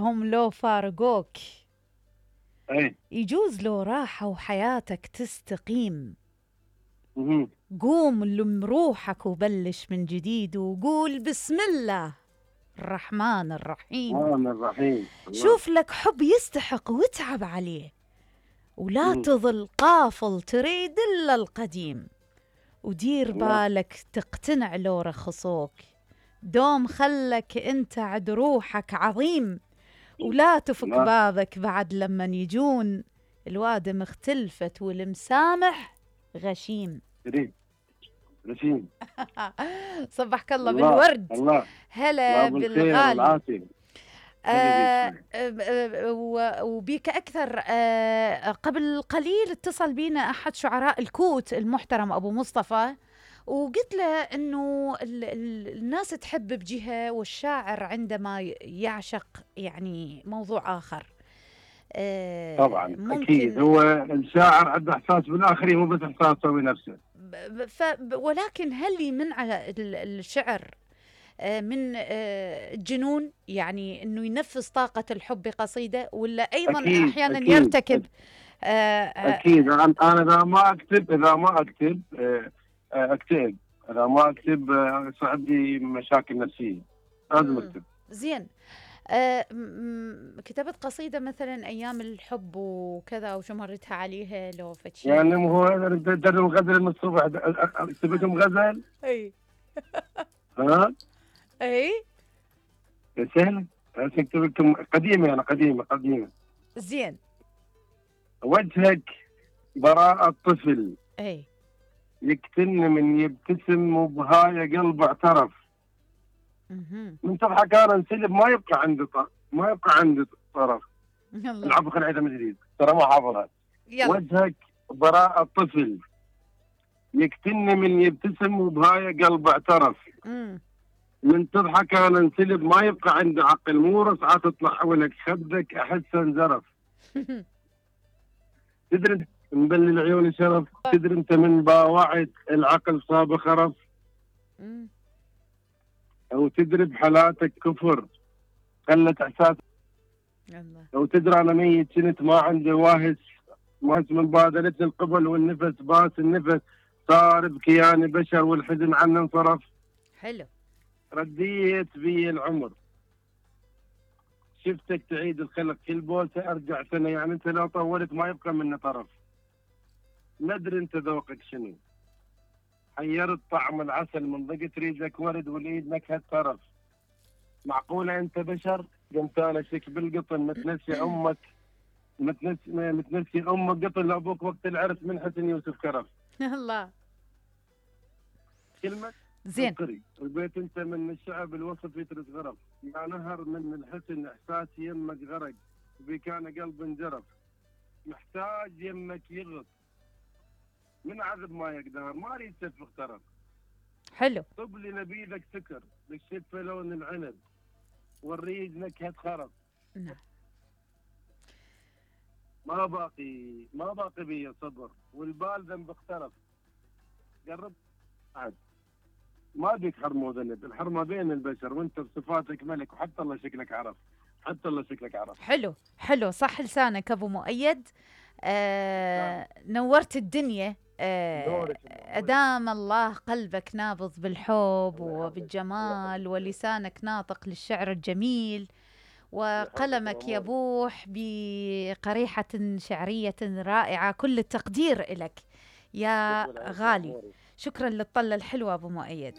هم لو فارقوك اي. يجوز لو راحوا وحياتك تستقيم. مهم. قوم لم روحك وبلش من جديد وقول بسم الله الرحمن الرحيم. الرحمن الرحيم. الله. شوف لك حب يستحق واتعب عليه، ولا مهم. تظل قافل تريد إلا القديم. ودير الله. بالك تقتنع لو رخصوك، دوم خلك انت عد روحك عظيم. ولا تفك الله. بابك بعد لما يجون، الوادم اختلفت والمسامح غشيم. كريم. رشيم. صبحك الله الله. بالورد. الله. الله هلا بالخير بالغالي. والعافية. هلا بيك. وبيك أكثر. قبل قليل اتصل بينا أحد شعراء الكوت المحترم أبو مصطفى، وقلت له أنه الناس تحب بجهة والشاعر عندما يعشق يعني موضوع آخر. طبعا اكيد ممكن هو الشاعر عنده احساس بالاخرين، مو بس احساسه بنفسه. ولكن هل يمنع الشعر من الجنون، يعني انه ينفذ طاقة الحب بقصيدة، ولا ايضا اكيد احيانا اكيد يرتكب آه، اكيد. انا اذا ما اكتب اكتئب. اذا ما اكتب يصير عندي مشاكل نفسيه. لازم اكتب. زين. كتبت قصيدة مثلا ايام الحب وكذا وشو مرتها عليها لو فتشي؟ يعني هو در الغزل من الصبح كتبتهم غزل. اي ها اي سهل. كتبت لكم قديمه، يعني قديمه. زين. وجهك براءة طفل اي يقتل من يبتسم وبهاي قلب اعترف. من تضحك انا انسلب ما يبقى عندي طرف. يلا العب خل عيدها من جديد، ترى ما حافظها. يلا. وجهك براءة طفل يقتلني من يبتسم وبهاي قلب اعترف. من تضحك انا انسلب ما يبقى عندي عقل، مو رصعة تطلع حولك خدك احس انزرف. تدري مبلل عيوني شرف، تدري انت من باوعت العقل صاب خرف. او تدري بحالاتك كفر خلت احساس. لو تدري انا ميت كنت ما عندي واهس من بادلتني القبل والنفس باس النفس صار بكياني بشر والحزن عني انصرف. حلو. رديت بي العمر شفتك تعيد الخلق كل بوسه ارجع سنه، يعني انت لو طولت ما يبقى منه طرف. ما ادري انت ذوقك شنو، حيرت طعم العسل من ضقت ريجك ورد والايد نكهه طرف. معقوله انت بشر قمت انا شك بالقطن متنسي امك متنسي امك قطن لابوك وقت العرس من حسن يوسف كرف. الله. كلمه زين. البيت انت من الشعب الوصف يترس غرف. يا نهر من الحسن احساسي يمك غرق بك انا قلب انجرف. محتاج يمك يغط من عذب ما يقدر ما اريد تفخ ترف. حلو. طب لي نبيذك سكر بالشفه لون العنب والريج نكهه خرف. نعم. ما باقي بي صبر والبال ذنب اخترف. قرب عاد ما بيك حرمه وذنب، الحرمه بين البشر وانت بصفاتك ملك وحتى الله شكلك عرف. حلو حلو. صح لسانك ابو مؤيد. نورت الدنيا. أدام الله قلبك نابض بالحب وبالجمال، ولسانك ناطق للشعر الجميل، وقلمك يبوح بقريحة شعرية رائعة. كل التقدير لك يا غالي. شكرا للطلة الحلوة أبو مؤيد.